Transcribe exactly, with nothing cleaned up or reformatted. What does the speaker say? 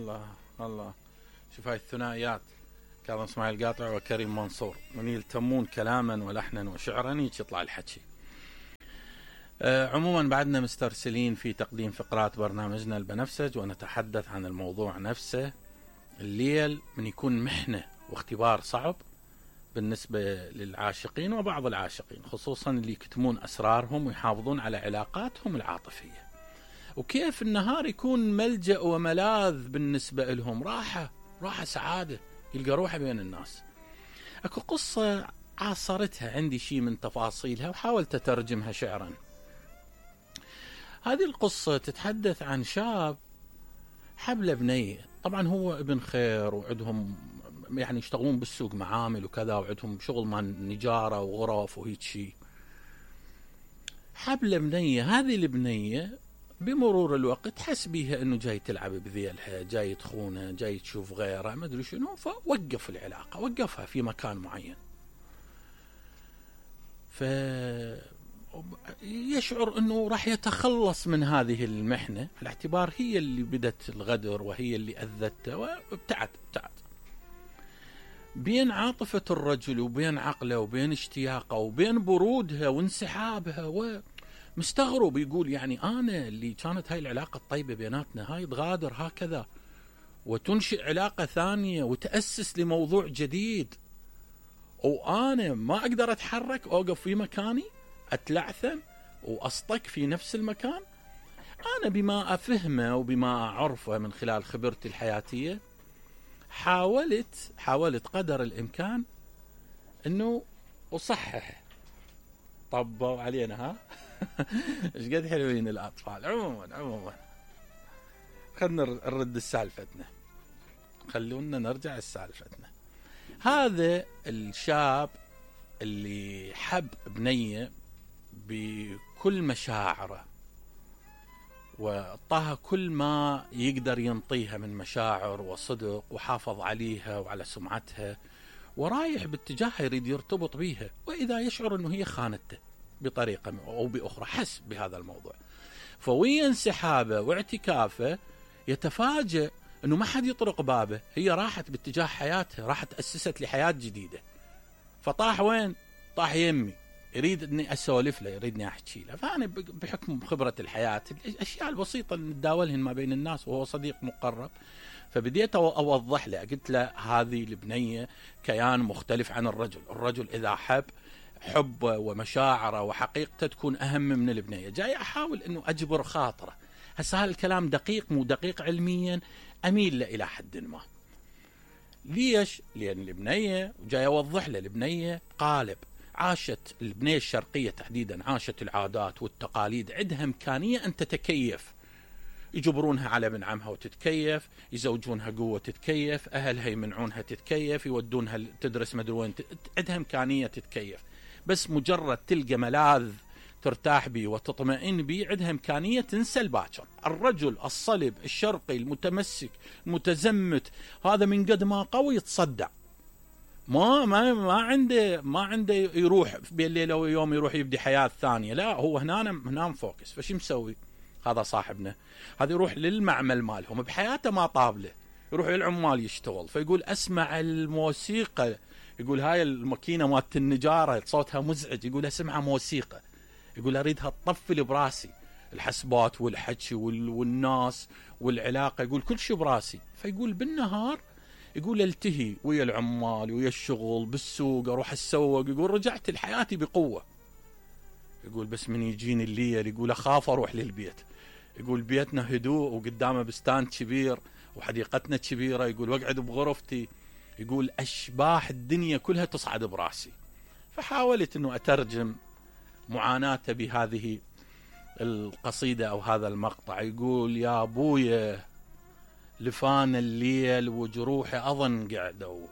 الله الله. شوف هاي الثنائيات، كاظم اسماعيل قاطع وكريم منصور، من يلتمون كلاما ولحنا وشعرا هيك يطلع الحكي. أه عموما بعدنا مسترسلين في تقديم فقرات برنامجنا البنفسج، ونتحدث عن الموضوع نفسه. الليل من يكون محنة واختبار صعب بالنسبة للعاشقين وبعض العاشقين، خصوصا اللي يكتمون أسرارهم ويحافظون على علاقاتهم العاطفية، وكيف النهار يكون ملجأ وملاذ بالنسبة لهم، راحة راحة سعادة، يلقى روحه بين الناس. أكو قصة عاصرتها عندي شيء من تفاصيلها وحاولت أترجمها شعرا. هذه القصة تتحدث عن شاب حبل بنية، طبعا هو ابن خير وعندهم يعني يشتغلون بالسوق معامل وكذا، وعندهم شغل مال نجارة وغرف وهيك شيء. حبل بنية، هذه البنية بمرور الوقت حس بيها انه جاي تلعب بذيلها، جاي تخونه، جاي تشوف غيره، ما ادري شنو، فوقف العلاقة، وقفها في مكان معين. ف يشعر انه راح يتخلص من هذه المحنة، على اعتبار هي اللي بدت الغدر وهي اللي اذته، وابتعد ابتعد بين عاطفة الرجل وبين عقله وبين اشتياقه وبين برودها وانسحابها، ومستغرب يقول يعني انا اللي كانت هاي العلاقة الطيبة بيناتنا هاي تغادر هكذا وتنشئ علاقة ثانية وتأسس لموضوع جديد، وانا ما اقدر اتحرك، اوقف في مكاني، اتلعثم واصطك في نفس المكان. انا بما افهمه وبما اعرفه من خلال خبرتي الحياتية حاولت حاولت قدر الامكان انه اصحح. طبوا علينا ها. ايش قد حلوين الاطفال. عموما عموما خلنا نرد السالفتنا، خلونا نرجع لسالفتنا. هذا الشاب اللي حب بنية بكل مشاعره وأعطاها كل ما يقدر ينطيها من مشاعر وصدق، وحافظ عليها وعلى سمعتها، ورايح باتجاهها يريد يرتبط بيها، وإذا يشعر أنه هي خانته بطريقة أو بأخرى، حس بهذا الموضوع، فويا انسحابه واعتكافه يتفاجأ أنه ما حد يطرق بابه، هي راحت باتجاه حياتها، راحت أسست لحياة جديدة. فطاح وين؟ طاح يمي، يريد اني اسولف له، يريدني احكي له. فانا بحكم خبره الحياه الاشياء البسيطه اللي نتداولهن ما بين الناس، وهو صديق مقرب، فبديت اوضح له، قلت له هذه البنيه كيان مختلف عن الرجل، الرجل اذا حب حبه ومشاعره وحقيقته تكون اهم من البنيه. جاي احاول انه اجبر خاطره. هسه هذا الكلام دقيق مو دقيق علميا، اميل له الى حد ما. ليش؟ لان البنيه، وجاي اوضح له، البنيه قالب، عاشت البنية الشرقية تحديدا، عاشت العادات والتقاليد، عندها إمكانية أن تتكيف، يجبرونها على ابن عمها وتتكيف، يزوجونها قوة تتكيف، أهلها يمنعونها تتكيف، يودونها تدرس مدري وين، عندها إمكانية تتكيف، بس مجرد تلقى ملاذ ترتاح بيه وتطمئن بيه، عندها إمكانية تنسى الباكر. الرجل الصلب الشرقي المتمسك المتزمت هذا من قد ما قوي يتصدع، ما ما ما عنده ما عنده يروح بين ليله ويوم يروح يبدي حياه ثانيه، لا هو هنا هنا مفوكس. فشي مسوي هذا صاحبنا؟ هذا يروح للمعمل مالهم، بحياته ما طابله، يروح للعمال يشتغل، فيقول اسمع الموسيقى، يقول هاي الماكينه مالت النجاره صوتها مزعج، يقول اسمع موسيقى، يقول اريدها تطفل براسي، الحسبات والحكي والناس والعلاقه، يقول كل شيء براسي. فيقول بالنهار يقول التهي ويا العمال ويا الشغل بالسوق، اروح اتسوق، يقول رجعت لحياتي بقوه. يقول بس من يجيني الليل يقول اخاف اروح للبيت، يقول بيتنا هدوء وقدامه بستان كبير وحديقتنا كبيره، يقول واقعد بغرفتي، يقول اشباح الدنيا كلها تصعد براسي. فحاولت انه اترجم معاناته بهذه القصيده او هذا المقطع. يقول يا ابويا لفان الليل وجروحي أظن قعدوا،